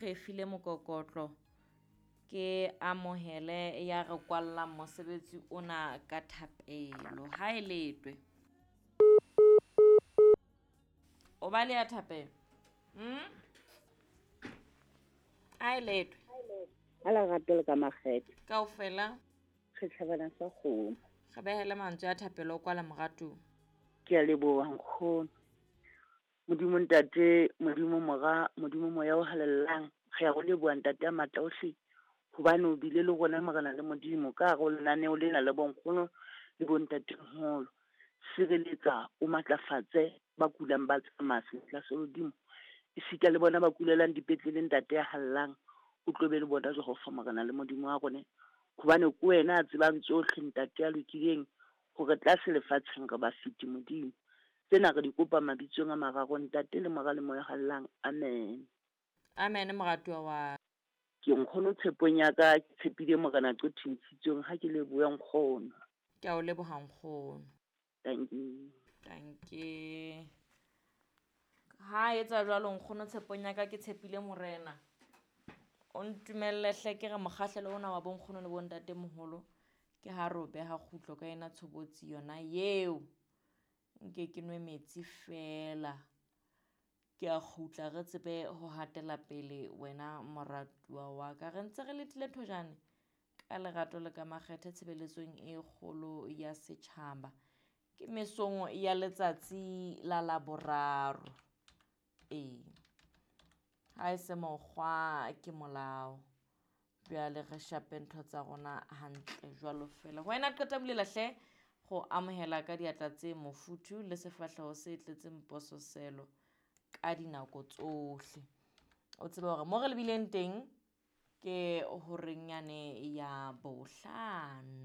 Re file mokokotlo ke amohele ya re kwallang mosebetsi ona ka thapelo. Ha e letwe. O ba le ya thapelo. Ha e letwe. Ha lerato le ka makgethe. Kaofela. Re tjhabana sa kgomo. Re behele mantswe a thapelo o kwala moratuwa. Ke a leboha nkgono. Modimo Ntate, Modimo Mora, Modimo Moya o halalelang, re a o leboha Ntate a matla ohle, hobane o bile le rona Morena le Modimo ka hare ho lenaneo lena le bonkgono le bontatemoholo. Sireletsa, o matlafatse ba kulang ba tsamaya seatla sa Modimo. Esita le bona ba kulelang dipetlele Ntate ya hallang, o tlo be le bona Jehova Morena le Modimo wa rona. Hobane ke wena a tsebang tsohle Ntate ya lokileng, hore tlase lefatsheng re ba fete Modimo. Tsena re di kopa mabitsong a mararo Ntate le Mora le Moya o halalelang. Amen. Amen moratuwa wa. Ke nkgono tshepong ya ka, ke tshepile Morena qotho ntshitsweng ha ke lebohe nkgono. Ke a o leboha nkgono. Thank you. Thank you. Ha etsa jwalo nkgono tshepong ya ka ke tshepile Morena. O ntumelle hle ke re mokgahlelo ona wa bonkgono le bontatemoholo ke ha re o beha kgutlo ka ena tshobotsi yona eo. Nke ke nwe metsi fela. Ke a kgutla re tsebe ho hatela pele wena moratuwa wa ka. Re ntse re letile thojane ka lerato le ka makgethe tshebeletsong e kgolo ya setjhaba. Ke mesong ya letsatsi la Laboraro. Ee. Ha e se mokgwa ke molao. Bjale re shape ntho tsa rona hantle jwalo fela. Wena qeta bulela hle go amohela ka diatla tse mofuthu le sefahleho se tletseng pososelo ka dinako tsohle. O tsebe hore mo re lebileng teng ke horeng yane ya 5.